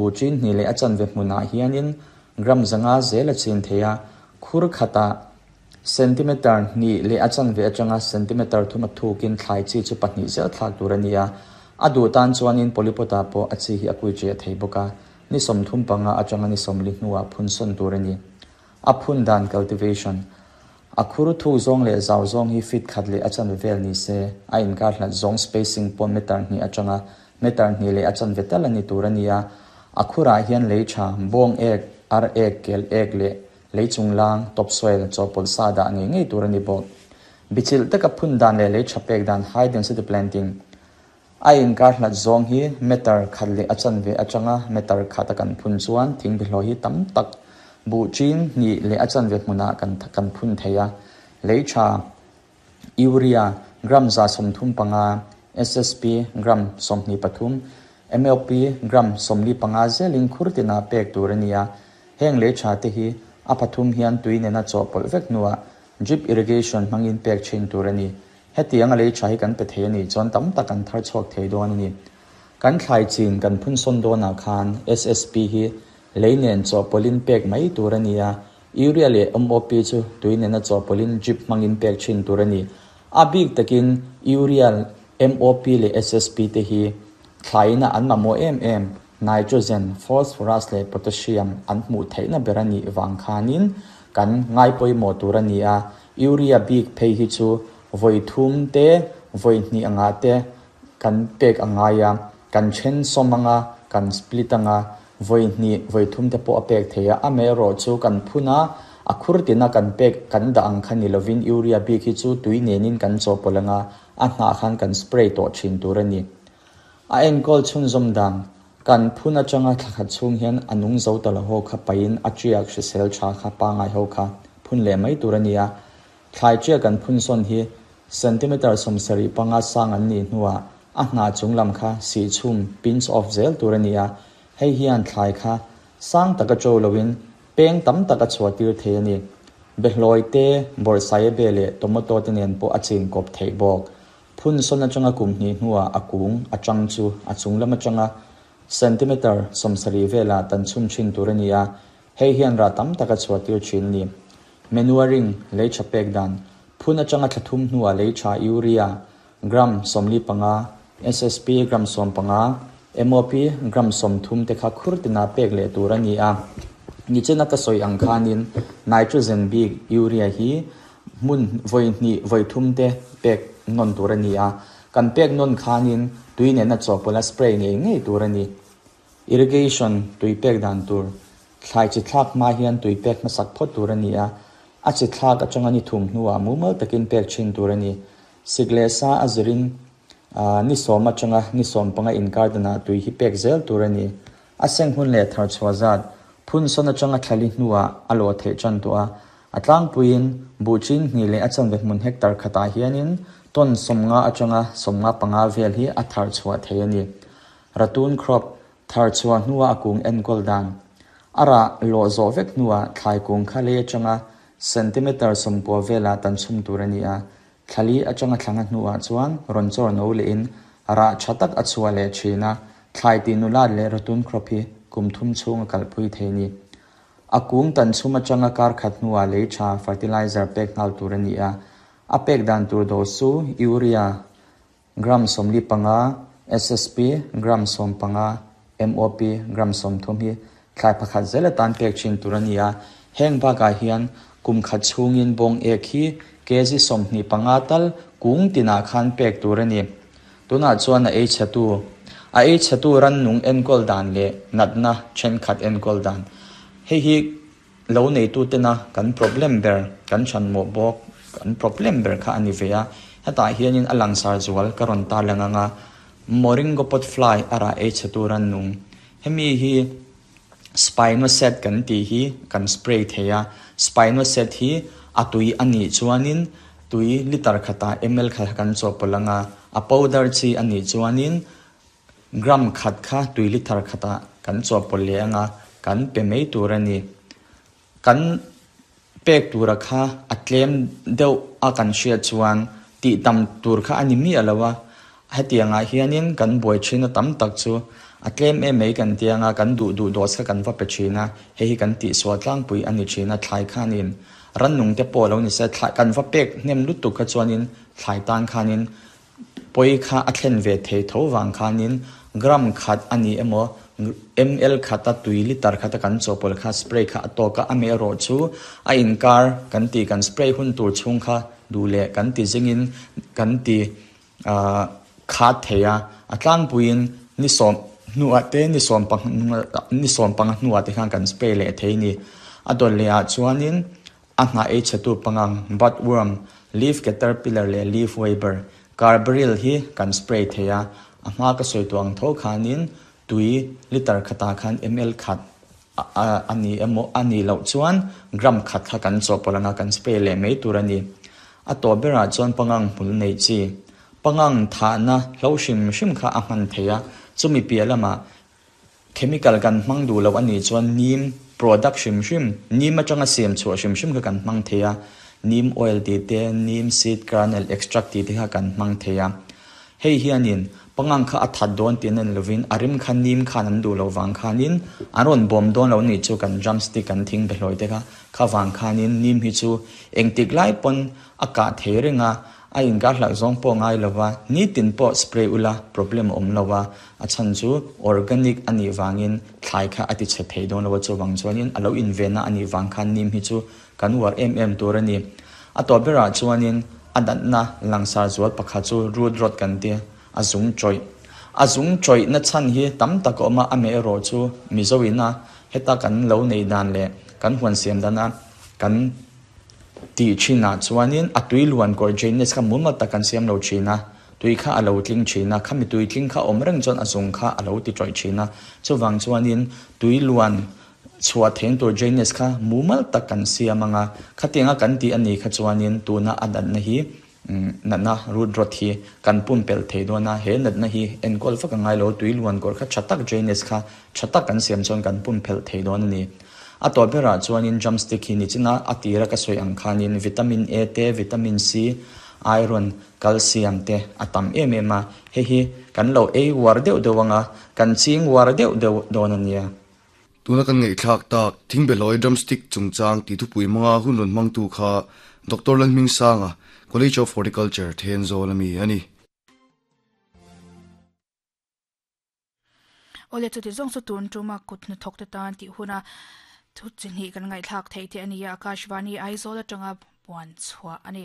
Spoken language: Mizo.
Buh chin hnih leh a chanve hmunah hianin gram 500 zel a chin thei a, khur khatah centimeter hnih leh a chanve atanga centimeter thum a thukin thlai chi chu pahnih zel thlak tur a ni a. A duh tan chuanin polypot-ah pawh a chi hi a kui ṭiah thei bawk a, ni 35 atanga ni 40 hnuah phun sawn tur a ni. A phun dan cultivation A khur thuk zawng leh zau zawng hi feet khat leh a chanve vel ni se, a inkar hlat zawng spacing pawh meter hnih atanga meter hnih leh a chanve tal a ni tur a ni a. A khurah hian lei tha, bawng ek, ar ek, kel ek leh lei chunglang, topsoil, chawhpawlh sa dah ngei ngei tur a ni bawk. Bichilh taka phun dan leh lei tha pek dan, high density planting, A inkar hlat zawng hi meter khat leh a chanve atanga meter khat a kan phun chuan thingbihlawh hi tam tak buh chin hnih leh a chanve hmunah kan kan phun thei a. Lei tha, Urea, gram 35, SSP, gram 23, MOP, gram 45 zelin khur tinah pek tur a ni a. Heng lei tha te hi a pathum hian tui nena chawhpawlh vek hnuah drip irrigation hmangin pek thin tur a ni. Hetiang a lei tha hi kan pe thei a nih chuan tam tak kan thar chhuak thei dawn a ni. Kan thlai chin kan phun sawn dawnah khan SSP hi lei nen chawhpawlhin pek mai tur a ni a, Urea leh MOP chu tui nena chawhpawlhin drip hmangin pek thin tur a ni. A bik takin Urea, MOP leh SSP te hi thlaina an mamawh em em, nitrogen, phosphorus leh potassium an hmuh theihna ber a nih vang khanin kan ngaipawimawh tur a ni a, Urea bik phei hi chu vawi thum te, vawi hnih angah te kan pek a ngai a, kan then sawm anga, kan split anga, vawi hnih, vawi thum te pawh a pek thei a, amaherawh chu kan phun a, a khur tina kan pek kan dah ang kha ni lovin urea bik hi chu tui nenin kan chawhpawlh anga, a hnah khan kan spray tawh thin tur a ni. A enkawl chhunzawm dan, kan phun atanga thla khat chhung hian a nung zo ta lo ho kha paihin a tiak hrisel tha kha pangai ho kha phun leh mai tur a ni a. Thlai tiak kan phun sawn hi centimeter 75 sang an nih hnuah a hnah chung lam kha sih chhum, pinch off, zel tur a ni a. Hei hian thlai kha sang taka to loin peng tam tak a chhuah tir thei a ni. Behlawi te, bawrhsaia be leh tomato te nen pawh a chin kawp theih bawk. Phun sawn atanga kum hnih hnuah a kung a chang chu a chung lam atanga centimeter 70 velah tan chhum thin tur a ni a, hei hian rah tam tak a chhuah tir thin a ni. Manuring, lei tha pek dan, Phun atanga thla thum hnuah lei tha Urea, gram 45, SSP gram 15, MOP gram 30 te kha khur tina pek leh tur a ni a. Nichina ka sawi ang khanin nitrogen bik Urea hi Hmun vawi hnih vawi thum te pek nawn tur a ni a, kan pek nawn khanin tui nena chawhpawlh a spray ngei ngei tur a ni. Irrigation, tui pek dan tur, Thlai chi thlak hma hian tui pek hmasak phawt tur a ni a, a chi thlak atanga ni thum hnuah mumal takin pek thin tur a ni. Sik leh sa a zirin ni sawm atanga ni 15 inkar danah tui hi pek zel tur a ni. A seng hun leh thar chhuah zat, phun sawn atanga thlali hnuah a lawh theih tan tawh a, A tlangpuiin buh chin hnih leh a chanve hmun hectare khatah hianin ton 50 atanga 55 vel hi a thar chhuah thei a ni. Ratoon crop thar chhuah hnua a kung enkawl dan. A rah lawh zawh vek hnuah thlai kung kha lei atanga centimeter 90 velah tan chhum tur a ni a, thlali atanga thlanga hnuah chuan rawn chawr no lehin rah tha tak a chhuah leh thin a, thlai tih nulat leh ratoon crop hi kum thum chhung a kalpui thei a ni. A kung tan chhum atanga kar khat hnuah lei tha fertilizer pek nghal tur a ni a, a pek dan tur dawh chu Urea gram 45, SSP gram 15, MOP gram 30 hi thlai pakhat zel atan pek thin tur a ni a. Heng bakah hian kum khat chhungin bawng ek hi kg 25 tal kung tinah khan pek tur a ni. Tunah chuan a ei chhetu, a ei chhetu rannung enkawl dan leh natna thenkhat enkawl dan. Hei hi lo neitutena kan problem ber, kan chhanmawh bawk, kan problem ber kha a ni ve a. Hetah hianin a langsar zual ka rawn tarlang ang a, Moringa pot fly a rah ei chhetu rannung. Hemi hi Spinosad kan tih hi kan spray thei a, Spinosad hi a tui a nih chuanin tui liter khatah ml khat kan chawhpawlh ang a, a powder chi a nih chuanin gram khat kha tui liter khatah kan chawhpawlh leh ang a, kan pe mai tur a ni. Kan pek tura kha a tlem deuh a kan hriat chuan tih tam tur kha a ni miah lo a, hetiangah hianin kan buai thin a tam tak chu A tlem em mai kan tia anga kan duh duh dose kha kan va pe thin a, hei hi kan tihsual tlangpui a ni thin a, thlai khanin rannung te pawh lo ni se, thlai kan va pek hnem lutuk kha chuanin thlai tan khanin pawi kha a thlen ve thei tho vang khanin gram khat a ni emaw ml khata tui liter khata kan chawhpawlh kha spray kha a tawk a, amaherawh chu a inkar kan tih kan spray hun tur chhung kha duh leh kan ti zingin kan ti khat thei a, a tlangpuiin ni sawm hnuah te ni sawm ni sawm panga hnuah te khan kan spray leh thei a ni. A dawt leh ah chuanin a hnah ei chhetu pangang bud worm, leaf caterpillar leh leaf webber, carbaryl hi kan spray thei a, a hma ka sawi tawh ang tho khanin tui liter khatah khan ml khat a ni emaw a nih loh chuan gram khat kha kan chawhpawlh anga kan spray leh mai tur a ni. A tawp berah chuan pangang hmul nei chi, pangang thahna hlo hrim hrim kha a hman thei a, chumi piah lamah chemical kan hmang duh loh a nih chuan neem product hrim hrim, neem atanga siam chhuah hrim hrim kha kan hmang thei a, neem oil tih te, neem seed kernel extract tih te kha kan hmang thei a. Hei hianin pangang kha a that dawn tih an en lovin a rim kha nim khan an duh loh vang khanin an rawn bawm dawn lo nih chu kan drumstick kan thing be hlawi te kha kha vang khanin nim hi chu engtik lai pawn a kah thei reng a, a inkar hlauh zawng pawh ngai lova nitin pawh spray ula problem a awm lo a, a chhan chu organic a nih vangin thlai kha a ti chhe thei dawn lo a chuvang chuanin a lo invenna a nih vang khan nim hi chu Kan uar em em tur a ni. A tawp berah chuanin a natna langsar zual pakhat chu root rot kan ti, a zung chawih. A zung chawihna chhan hi tam tak a awm a, a meh erawh chu Mizo ina heta kan lo nei dan leh kan huan siam dana kan tih thinah chuanin a tui luan kawr drainage kha mumal tak kan siam lo thin a, tui kha a lo tling thin a, khami tui tling kha awm reng chuan a zung kha a lo ti tawih thin a, chuvang chuanin tui luan Chhuah theng tur drainage kha mumal tak kan siam ang a, khatianga kan tih a nih kha chuanin tuna a natna hi natna root rot hi kan pumpelh thei dawn a, he natna hi enkawl vak a ngai lo, tui luan kawr kha tha tak drainage kha tha tak kan siam chuan kan pumpelh thei dawn a ni. A tawp berah chuanin drumstick hi nichina a tira ka sawi ang khanin vitamin A te, vitamin C, iron, calcium te a tam em em a, hei hi kan lo ei uar deuh deuh ang a, kan ching uar deuh deuh dawn a nia. Tuna kan ngaihthlak tak Thingbehlawi Drumstick chungchang tih thupui hmanga hun rawn hmangtu kha Doctor Lalhmingsanga, College of Horticulture, Thenzawl a mi a ni. Awle chuti zawng chu tun tuma kut hnathawk te tan tih huna thu chi hnih kan ngaihthlak theih te a ni a, Akashvani Aizawl atanga puan chhuah a ni.